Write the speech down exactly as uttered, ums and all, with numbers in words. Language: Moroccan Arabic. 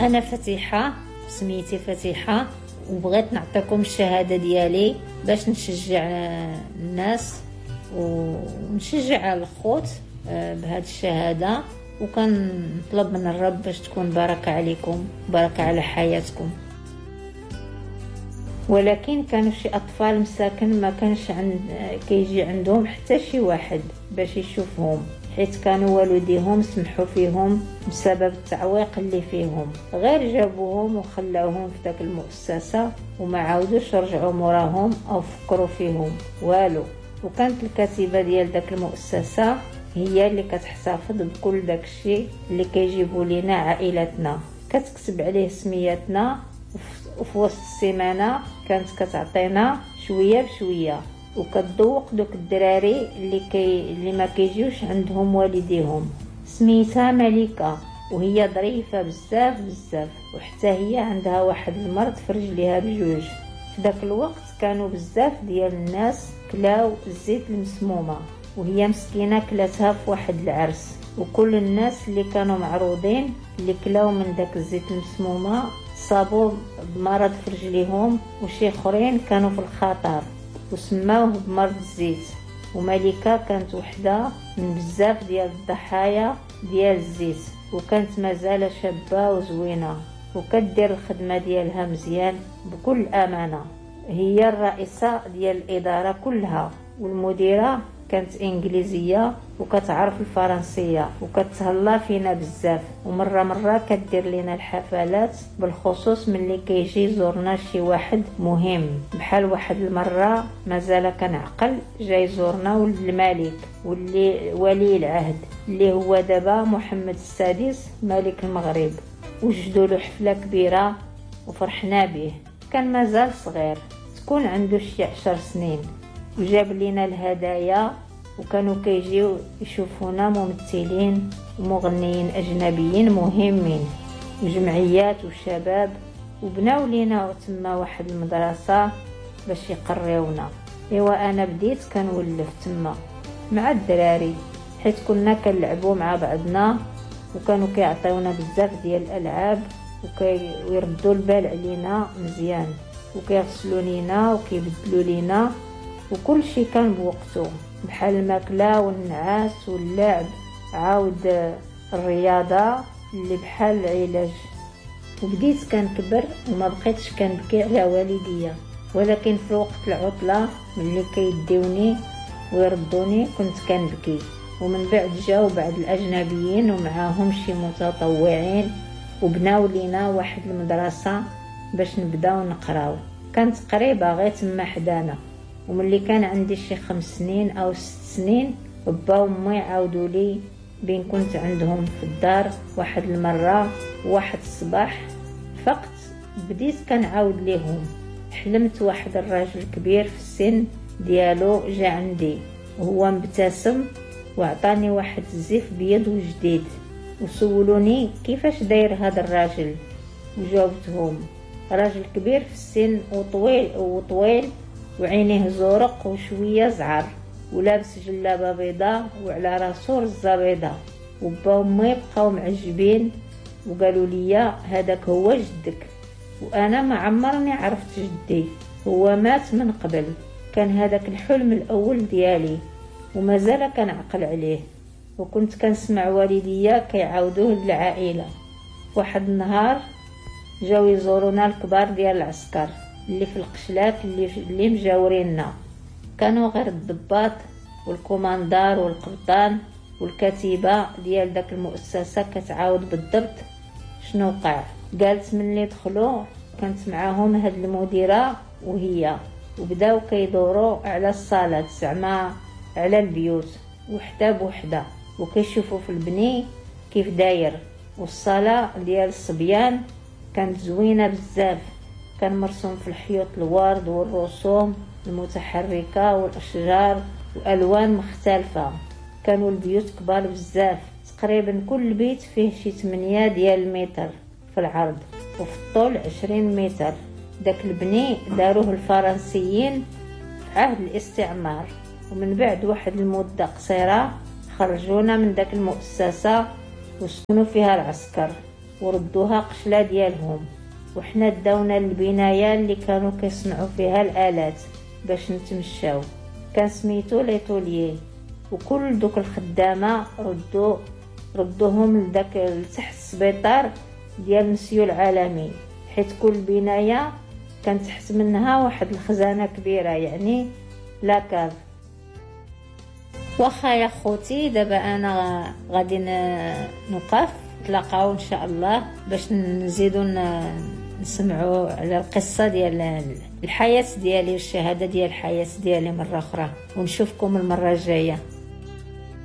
انا فتيحه، سميتي فتيحه، وبغيت نعطيكم الشهادة ديالي باش نشجع الناس ونشجع الخوت بهذه الشهاده، وكنطلب من الرب باش تكون بركة عليكم، بركة على حياتكم. ولكن كانوا شي اطفال مساكن ما كانش عند كيجي عندهم حتى شي واحد باش يشوفهم، حيت كانوا والديهم سمحوا فيهم بسبب التعويق اللي فيهم، غير جابوهم وخلاوهم في داك المؤسسة وما عاودوش رجعوا موراهم او فكروا فيهم والو. وكانت الكاتبة ديال داك المؤسسة هي اللي كتحتفظ بكل داك الشيء اللي كيجيبوا لينا عائلتنا، كتكتب عليه سمياتنا، وفي وسط السيمانة كانت كتعطينا شوية بشوية، وكتذوق دوك الدراري اللي كي اللي ما كيجيوش عندهم والديهم. سميتها مليكة وهي ظريفة بزاف بزاف، وحتى هي عندها واحد المرض في رجليها بجوج. في داك الوقت كانوا بزاف ديال الناس كلاو الزيت المسمومه، وهي مسكينه كلاتها في واحد العرس، وكل الناس اللي كانوا معروضين اللي كلاو من داك الزيت المسمومه صابوا بمرض في رجليهم، وشي اخرين كانوا في الخطر وسماوه بمرض الزيت. ومليكة كانت وحده من بزاف ديال الضحايا ديال الزيت، وكانت مازال شابه وزوينه وكدير الخدمة ديالها مزيان بكل امانه. هي الرئيسة ديال الادارة كلها، والمديره كانت انجليزية وكتعرف الفرنسية وكتهلا فينا بزاف، ومرة مرة كدير لينا الحفلات، بالخصوص ملي كيجي يزورنا شي واحد مهم. بحال واحد المرة مازال كنعقل جاي يزورنا ولد الملك واللي ولي العهد اللي هو دابا محمد السادس ملك المغرب، وجدوا له حفلة كبيرة وفرحنا به. كان مازال صغير، تكون عنده شي عشر سنين، وجاب لينا الهدايا، وكانوا كيجيو يشوفونا ممثلين ومغنيين اجنبيين مهمين وجمعيات وشباب، وبناو لينا تما واحد المدرسة باش يقريونا. ايوا انا بديت كنولف تما مع الدراري، حيت كنا كنلعبوا مع بعضنا، وكانوا كيعطيونا بزاف ديال الالعاب وكيردوا البال علينا مزيان، وكيغسلوا لينا وكيبدلوا لينا، وكل شيء كان بوقته، بحال الماكلة والنعاس واللعب، عاود الرياضة اللي بحال العلاج. وبديت كنكبر وما بقيتش كنبكي على والديا، ولكن في وقت العطلة ملي كيديوني ويردوني كنت كنبكي. ومن بعد جاو بعض الاجنبيين ومعاهم شي متطوعين وبناو لينا واحد المدرسة باش نبداو نقراو، كانت قريبه غير تما حدانا. وملي كان عندي شي خمس سنين او ست سنين، با وامي عاودوا لي بين كنت عندهم في الدار واحد المرة، واحد الصباح فقط بديت كنعاود ليهم. حلمت واحد الراجل كبير في السن ديالو جا عندي وهو مبتسم وعطاني واحد الزيف بيض وجديد، وسولوني كيفاش داير هذا الراجل، وجاوبتهم راجل كبير في السن وطويل وطويل وعينيه زرق وشوية زعر، ولابس جلابه بيضاء وعلى راسو رزه بيضاء. وبا وامي بقاو معجبين وقالوا لي هذاك هو جدك، وانا ما عمرني عرفت جدي، هو مات من قبل. كان هذاك الحلم الاول ديالي ومازال كنعقل عليه، وكنت كنسمع والديا كيعاودوه للعائلة. واحد النهار جاو يزورونا الكبار ديال العسكر اللي في القشلات اللي اللي مجاوريننا، كانوا غير الضباط والكوماندار والقبطان والكاتبه ديال داك المؤسسة كتعاود بالضبط شنو وقع. قالت ملي دخلوا كانت معاهم هاد المديرة وهي، وبداو كيدوروا على الصالات زعما على البيوت وحده بوحده، وكيشوفوا في البني كيف داير. والصاله ديال الصبيان كانت زوينة بزاف، كان مرسوم في الحيوط الورد والرسوم المتحركة والاشجار والوان مختلفة. كانوا البيوت كبار بزاف، تقريبا كل بيت فيه شي ثمانية ديال المتر في العرض وفي الطول عشرين متر. داك البني داروه الفرنسيين في عهد الاستعمار، ومن بعد واحد المدة قصيرة خرجونا من داك المؤسسة وسكنوا فيها العسكر. وردوها قشله ديالهم. وحنا داونا للبنايه اللي كانوا كيصنعوا فيها الالات باش نتمشاو، كان سميتو l'atelier. وكل دوك الخدامة ردوا ردوهم لداك لتحت السبيطار ديال مسيو العالمي، حيت كل بناية كان تحت منها واحد الخزانة كبيرة يعني la cave. واخا يا خوتي، دابا انا غادي نوقف، نتلاقاو ان شاء الله باش نزيدو نسمعوا على القصة ديال الحياة ديالي والشهادة ديال الحياة ديالي مرة اخرى، ونشوفكم المرة الجاية.